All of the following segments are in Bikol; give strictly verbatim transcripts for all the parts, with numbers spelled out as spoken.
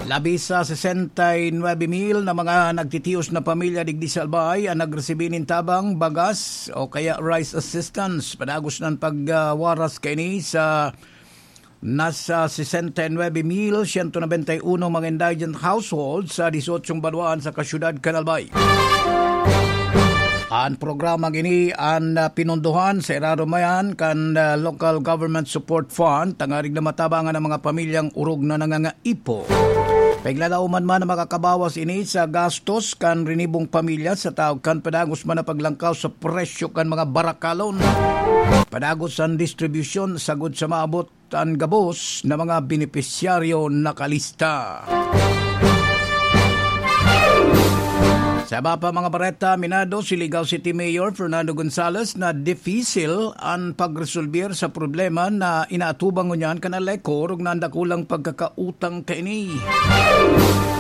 Labi sa sesenta y nuebe mil na mga nagtitios na pamilya digdi sa Albay an nagresibi nin tabang, bagas o kaya rice assistance. Padagos na an pagwaras kaini sa nasa sesenta y nuebe mil siyento nobenta y uno mga indigent households sa disyotso banwaan sa kasyudad kan Albay. An programang ini an, ah, pinondohan sa irarom man kan, ah, Local Government Support Fund, tangarig na matabangan ang mga pamilyang orog na nangangaipo. Paglalaoman man na makakabawas ini sa gastos kan rinibong pamilya sa taog kan padagos man na paglangkaw sa presyo kan mga barakalon. Padagos an distribusyon sagod sa maabot an gabos na mga benepisyaryo nakalista. Sa iba pa mga bareta, aminado si Ligao City Mayor Fernando Gonzalez na dipisil an pagresolbir sa problema na inaatubang ngunyan kan Aleco, orog na an dakulang pagkakautang kaini.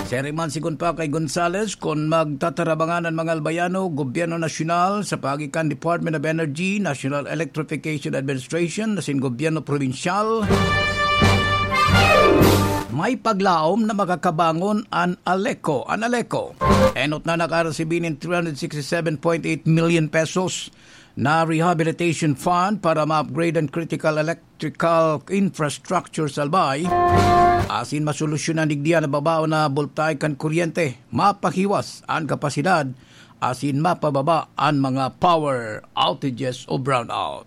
Siring man sigon pa kay Gonzalez, kun magtatarabangan an mga Albayano, gobyerno nasyonal, sa paagi kan Department of Energy, National Electrification Administration, asin gobyerno probinsyal, may paglaom na makakabangon an Aleco. An Aleco, enot na nakaresibi nin three hundred sixty-seven point eight million pesos na rehabilitation fund para ma-upgrade an critical electrical infrastructure sa Albay, asin masolusyonan digdi an nababaon na boltahe kan kuryente, mapahiwas an kapasidad, asin mapababa an mga power outages o brownout.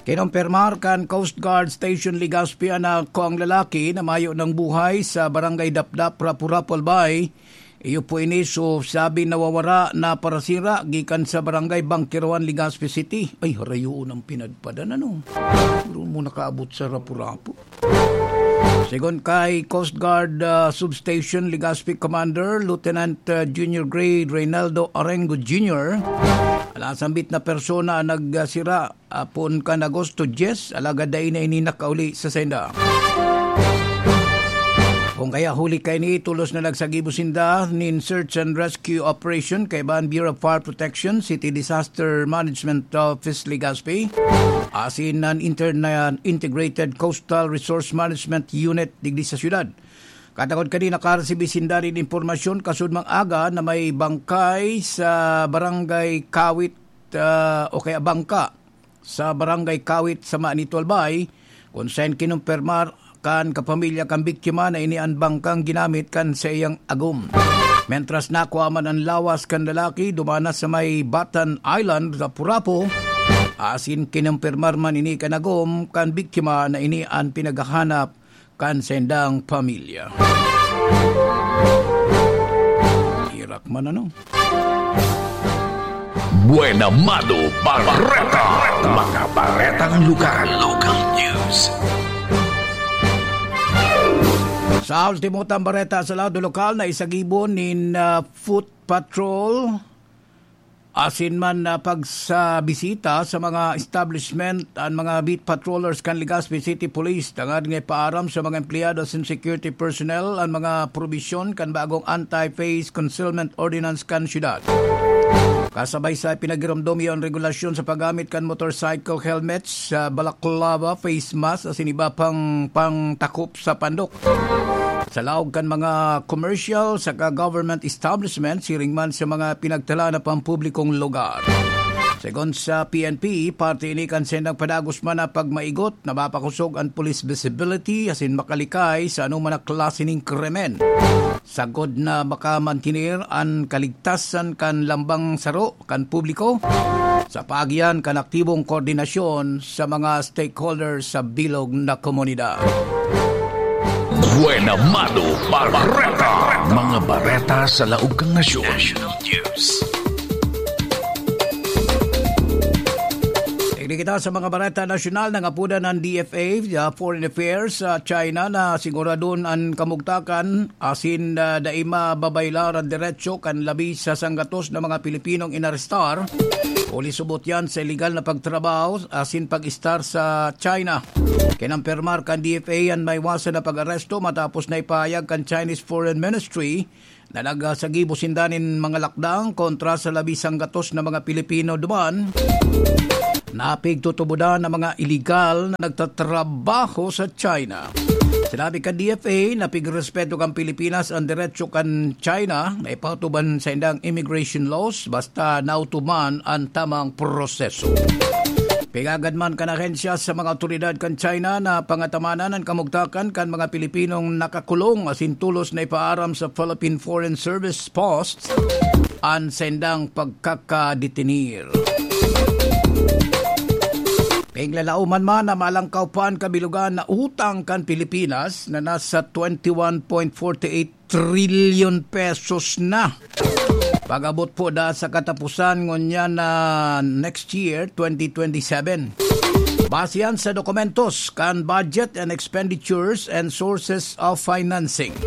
Kinumpirmar kan Coast Guard Station Legazpi an nakuang lalaki na mayo ng buhay sa Barangay Dapdap, Rapu-Rapu, Albay. Iyo po ini, so, sabi nawawara na parasira gikan sa Barangay Bangkirawan, Legazpi City. Ay, harayoon ang pinadpadan, ano? Siguro mo nakaabot sa Rapu-Rapu. Sigon kay Coast Guard, ah, Substation Legazpi Commander Lieutenant, ah, Junior Grade Reynaldo Arengo Junior, alasambit na persona ang nagsira apon kan Agosto dyes, alagad dai na ini nakauli sa sainda. Kung kaya huli kaini, tolos na nagsagibo sinda nin search and rescue operation kaiba an Bureau of Fire Protection, City Disaster Management Office Legazpi, asin an Interna-, Integrated Coastal Resource Management Unit digdi sa syudad. Katakod kani, nakaresibi sinda nin impormasyon kasudmang aga na may bangkay sa Barangay Kawit, ah, o kaya bangka sa Barangay Kawit sa Manito, Albay, kun saen kinumpirmar kan kapamilya kan biktima na ini an bangkang ginamit kan saiyang agom. Mentras nakua man an lawas kan lalaki, duman na sa may Batan Island, Rapu-Rapu, asin kinumpirmar man ini kan agom kan biktima na ini an pinaghahanap kan saindang pamilya. Irak man, ano? Buena Mano Bareta. Mga baretang lugar. Local news. Sa ultimo tang bareta sa lado lokal, naisagibo nin, ah, foot patrol asin man, ah, pagsabisita sa mga establishment an mga beat patrollers kan Legazpi City Police tangad nga ipaaram sa mga empleyado asin security personnel an mga probisyon kan bagong Anti-Face Concealment Ordinance kan syudad. Kasabay sa ipinagiromdom iyo an regulasyon sa paggamit kan motorcycle helmets, sa balaklava, face mask, asin iba pang pangtakop sa pandok sa laog kan mga commercial saka government establishment, siring man sa mga pinagtala na pampublikong lugar. Segun sa P N P, parte ini kan sendang padagos man na pagmaigot na mapakosog an police visibility asin makalikay sa anoman na klase ning krimen, sagkod na makamantener an kaligtasan kan lambang saro kan publiko sa paagian kan aktibong koordinasyon sa mga stakeholders sa bilog na komunidad. Buena Mano Bareta. Mga bareta sa laog kan nasyon. National News. Tigdi kita sa mga bareta nasyonal. Nangapodan ang D F A, uh, Foreign Affairs sa China, na siguradon an kamugtakan asin, ah, dai mababaylar an deretsyo kan labi sa sanggatos na mga Pilipinong inarestar. Huli subot yan sa iligal na pagtrabaho asin pag-istar sa China. Kinampirmar kan D F A an maiwasan na pag-aresto matapos na ipahayag kan Chinese Foreign Ministry na nagsagibo sinda nin mga lakdang kontra sa labi sanggatos na mga Pilipino duman na pigtutubodan na mga iligal na nagtatrabaho sa China. Sinabi kan D F A na pigrespeto kan Pilipinas an derecho kan China na ipautuban sa indang immigration laws basta nautuman an tamang proseso. Pigagad man kan ahensya sa mga awtoridad kan China na pangatamanan an kamugtakan kan mga Pilipinong nakakulong asin tolos na ipaaram sa Philippine Foreign Service Post an saindang pagkakadetenir. Piglalauman man na malangkaw pa an kabilugan na utang kan Pilipinas na nasa twenty-one point forty-eight trillion pesos na. Pag-abot po da sa katapusan ngunyan na next year, twenty twenty-seven. Base yan sa dokumentos kan budget and expenditures and sources of financing.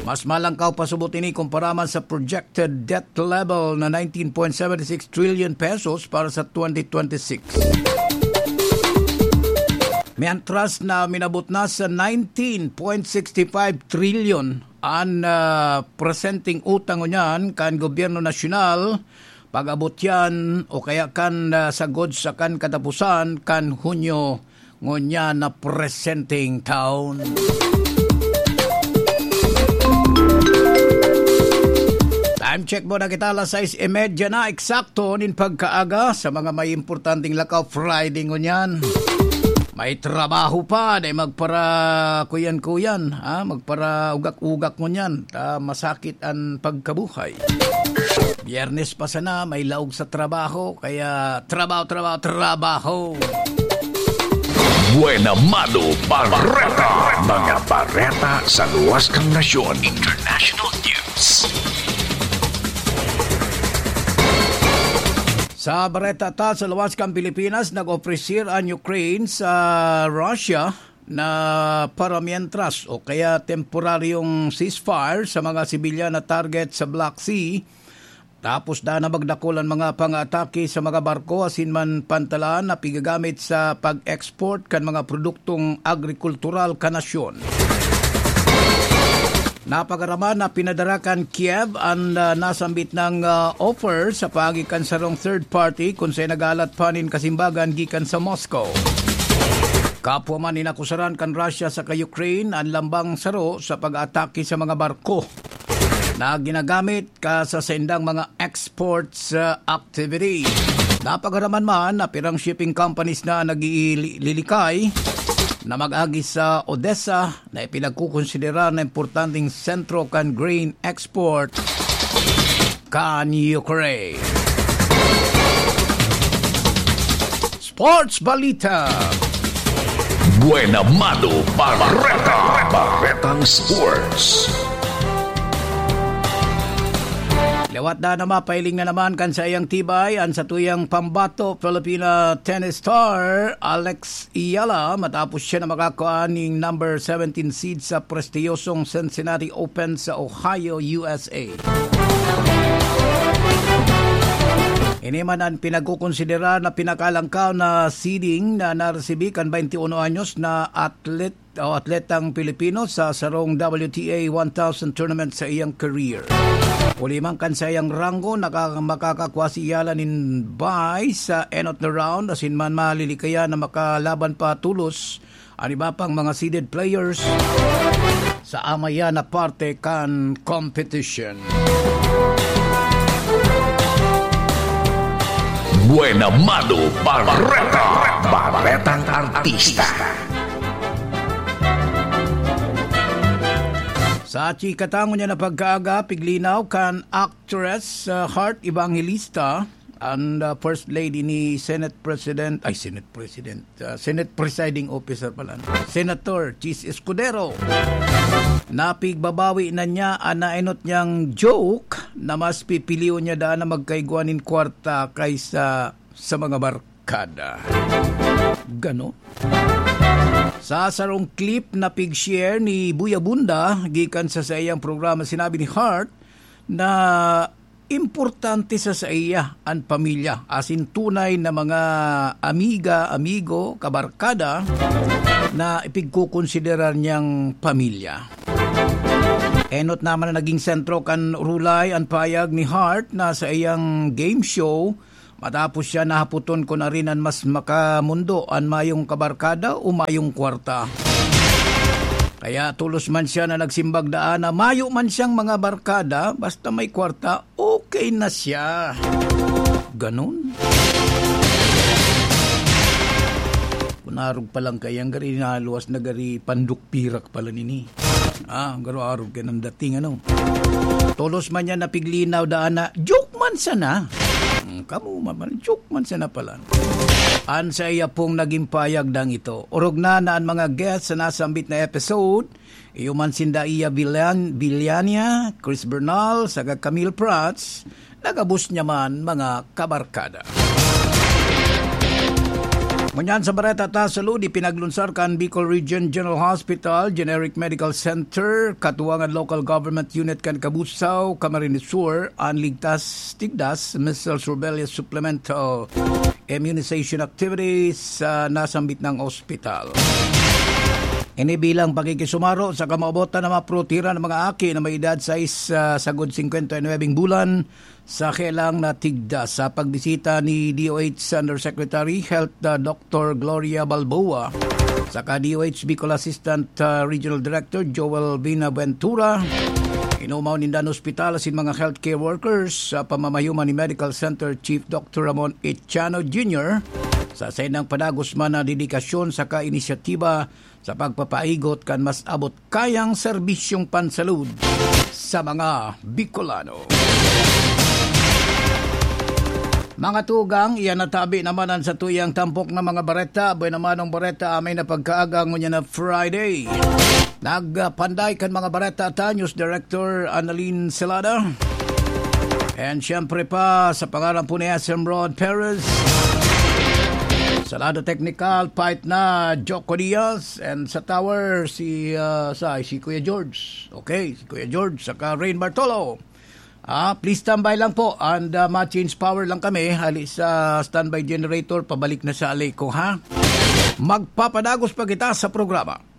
Mas malangkaw pa subot ini kumpara man sa projected debt level na nineteen point seven six trillion pesos para sa twenty twenty-six. Mientras na minabot na sa nineteen point six five trillion an, ah, presenteng utang ngunyan kan gobyerno nasyonal, pag-abot yan o kaya kan, ah, sagod sa kan katapusan kan Hunyo ngunyan na presenteng taon. Time check muna kita, alas sais y media na eksakto nin pagkaaga. Sa mga may importanteng lakaw, Friday ngunyan. May trabaho pa, dai magpara kuyan-kuyan, ha? Magpara ugak-ugak ngunyan. Ta masakit an pagkabuhay. Biyernes pa sana, may laog sa trabaho, kaya trabaho, trabaho, trabaho. Buena Mano Bareta. Mga bareta sa luwas kan nasyon. International news. Sa bareta ta, sa luwas kan Pilipinas, nag-ofrecer an Ukraine sa Russia na para mientras o kaya temporaryong ceasefire sa mga sibilyan na target sa Black Sea, tapos da na magdakul an mga pangatake sa mga barko asin man pantalan na pigagamit sa pag-export kan mga produktong agrikultural kan nasyon. Napagaraman na pinadara kan Kiev an, ah, nasambit nang, ah, offer sa paagi kan sarong third party kun saen nagalat pa nin kasimbagan gikan sa Moscow. Kapwa man inakusaran kan Russia saka Ukraine an lambang saro sa pag-atake sa mga barko na ginagamit ka sa saindang mga exports, ah, activity. Napagaraman man na pirang shipping companies na naglililikay na mag-agi sa Odessa na ipinagkukonsiderar na importanteng sentro kan grain export kan Ukraine. Sports Balita. Buena Mano Bareta. Baretang Sports. Liwat na na mapahiling na naman kan saiyang tibay an satuyang pambato Filipina tennis star Alex Eala matapos siya na makakua ning number seventeen seed sa prestiyosong Cincinnati Open sa Ohio, U S A. Ini man an pinagkokonsiderar na pinakalangkaw na seeding na naresibi kan twenty-one anyos na atlet o atletang Pilipino sa sarong W T A one thousand tournament sa iyang career. Huli man kan saiyang ranggo, naka-, makakakua si Eala nin bye sa enot na round, asin man malilikayan na makalaban pa tolos an iba pang mga seeded players sa amaya na parte kan competition. Buena Mano Bareta. Baretang Artista. Sa chika ta ngunyan na pagkaaga, piglinaw kan actress, uh, Heart Evangelista, an, uh, First Lady ni Senate President, ay, Senate President, uh, Senate Presiding Officer pala, no? Senator Chiz Escudero. Napigbabawi na niya an naenot niyang joke na mas pipilion niya daan na magkaigwa nin kwarta kaysa sa mga barkada. Gano? Sa sarong clip na pig-share ni Buya Bunda gikan sa saiyang programa, sinabi ni Heart na importante sa saiya an pamilya, asin tunay na mga amiga, amigo, kabarkada na ipigkokonsiderar niyang pamilya. Enot naman na naging sentro kan rulay an payag ni Heart na saiyang game show matapos siya nahapoton kun arin an mas makamondo, an mayong kabarkada o mayong kwarta. Kaya tolos man siya na nagsimbag daan na mayo man siyang mga barkada, basta may kwarta, okay na siya. Ganun. Kunarog pa lang kayang gari naluwas na gari pandukpirak pala nini. Ah, garo-arog kay nang dating, ano. Tolos man niya napiglinaw daan na, joke man sana. Hmm, kamo man, joke man sana pala. An sa iya pong naging payag dang ito. Orog na na an mga guest sa nasambit na episode. Iyo man sinda iya Villan-, Villania, Chris Bernal, saka Camille Prats, nagabos niya man mga kabarkada. Ngunyan sa bareta ta sa ludi, pinaglunsar kan Bicol Region General Hospital, Generic Medical Center, katuwangan local government unit kan Cabusao, Camarines Sur, an ligtas tigdas, measles, rubella supplemental immunization activities sa nasambit ng ospital. Ini bilang pakikisumaro sa kamaobotan na maprotiran ng mga aki na may edad sais, ah, sagod singkwenta y nuwebeng bulan sa kailang natigda sa pagbisita ni D O H Undersecretary Health, ah, Doctor Gloria Balboa, saka D O H Bicol Assistant, ah, Regional Director Joel Binaventura. Inumaw ninda an ospital asin mga healthcare workers sa pamamayo man ni Medical Center Chief Doctor Ramon Echano Junior sa saindang padagos man na dedikasyon saka inisyatiba sa pagpapaigot kan mas abot kayang serbisyong pansalud sa mga Bicolano. Mga tugang, iyan natabi naman an satuyang tampok na mga bareta. Buena manong bareta, amay na pagkaaga ngunyan na Friday. Nagpanday kan mga bareta ta, News Director Annalyn Celada. And syempre pa, sa pangalan po ni S M Rod Perez. Sa lado teknikal, fight na Joko Diaz. And sa tower, si, ah, sa, si Kuya George. Okay, si Kuya George, saka Rain Bartolo. Ah, please standby lang po. And, ah, ma-change power lang kami. Hali sa standby generator, pabalik na sa Aleco, ha? Magpapadagos pa kita sa programa.